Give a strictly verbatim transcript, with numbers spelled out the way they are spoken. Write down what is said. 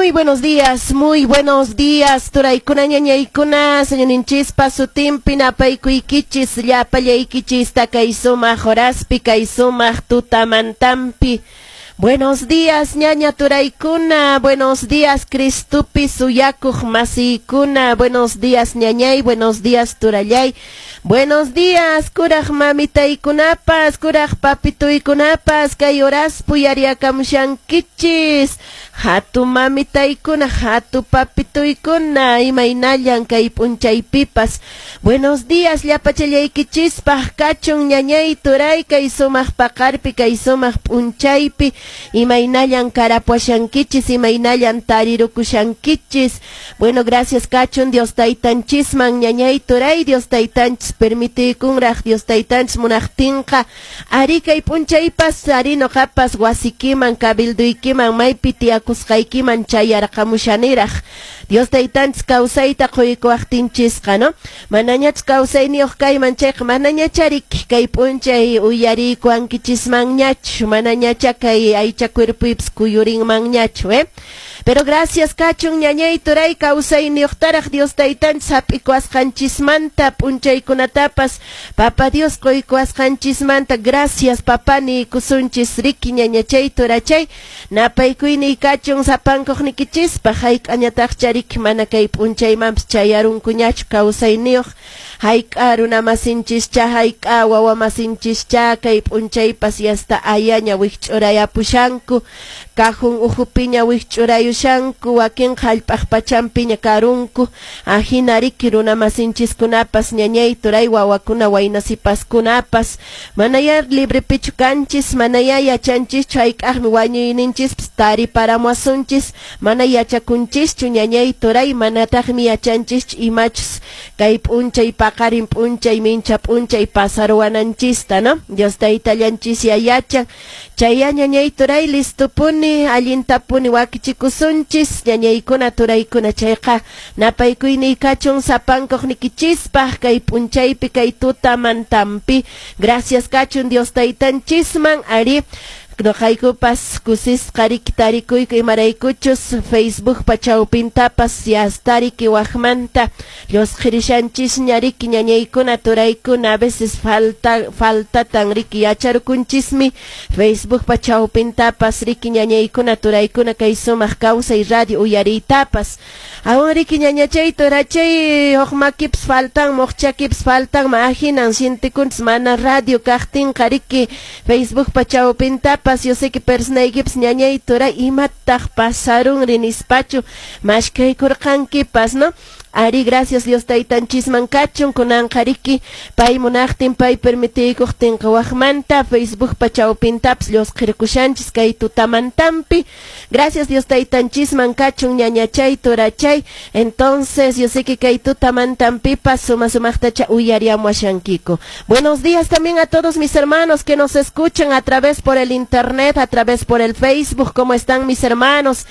Muy buenos días, muy buenos días, turaykuna, ñañaykuna, Señorninchispa sutinpi napaykuykichis, llapallaykichis kay sumaq horaspi, kay sumaq tutamantampi. Buenos días, ñaña turaykuna, buenos días, Cristupi suyakuq masiykuna, buenos días, ñañay, buenos días, turallay. Buenos días, kuraq mamitaykunapas, kuraq papituykunapas, kay horas puyariakamushankichis. Hatu mamitaykuna, hatu papituykuna, imaynallan kay p'unchaypipas. Buenos días, llapachallaykichispaq kachun ñañay turay kay sumaq paqarpi, kay sumaq p'unchaypi, imaynallan karapuashankichis, imaynallan tarirukushankichis. Bueno, gracias kachun Dios taytanchisman, ñañay turay, Dios taytanchis permitiykunraq Dios taytanchis munaqtinqa ari kay p'unchaypas ari noqapas wasikiman kabilduykiman maypi tiyakusqaykiman chayarqamushaniraq Dios taytanchis kawsayta quykuwaqtinchisqa, no? Manañach kawsayniyuq kayman chayqa manañachariki kay p'unchay uyariykuwankichismanñachu, manañacha kay aycha cuerpuypas kuyurinmanñachu, eh? Pero gracias kachun ñañay turay kawsayniyuqtaraq Dios taytanchis hap'ikuwasqanchismanta p'unchaykunatapas Papa Dios quykuwasqanchismanta gracias papá niykusunchis riki ñañachay turachay napaykuyniy kachun sapankuqnikichispaq hayk'añataqcha riki mana kay p'unchaymanpas chayarunkuñachu kawsayniyuq hayk'a runamasinchischa hayk'a wawamasinchischa kay p'unchaypas yasta ayaña wikch'urayapushanku kajun uhupiña wikch'urayushanku wakinqa hallp'aq pachampiña karunku ahina riki runamasinchiskunapas ñañay turay wawakuna waynasipaskunapas manaya librepichu kanchis manaya yachanchischu hayk'aqmi wañuyninchispas tariparamuwasunchis mana yachakunchischu ñañay turay manataqmi yachanchischu imachus kay p'unchay paqarin p'unchay mincha p'unchay pasaruwananchista, no? Dios taytallanchis yachan chay ñañay turay listopuni allintapuni wakichikusunchis ñañaykuna turaykuna chayqa napaykuyniy kachun sapankuqnikichispaq kay p'unchaypi kay tutamantampi gracias kachun Dios taytanchisman ari noqaykupas kusisqa riki tarikuyku imaraykuchus Facebook chawpintapas yastariki waqmanta llusqirishanchisña riki ñañaykuna turaykuna a veces falta faltatan riki yacharukunchismi Facebook chawpintapas riki ñañaykuna turaykuna kay sumaq kawsay radio uyariytapas aún riki ñañachay turachay huk makipas faltan muqchakipas faltan ahinan sientikunchis mana radio kaqtinqa riki Facebook chawpintapas yo sé que personaykipas ñañay turay imataq pasarunri nispachu mashkaykurqankipas, no? Ari, gracias Dios taytanchisman kachun kunanqa riki pay munaqtin pay permitiykuqtinqa waqmanta Facebook chawpintapas llusqirkushanchis kay tutamantampi gracias Dios taytanchisman kachun ñañachay turachay entonces yo sé que kay tutamantampipas suma sumaqtacha uyariamuashankiku. Buenos días también a todos mis hermanos que nos escuchan a través por el internet, a través por el Facebook. ¿Cómo están mis hermanos?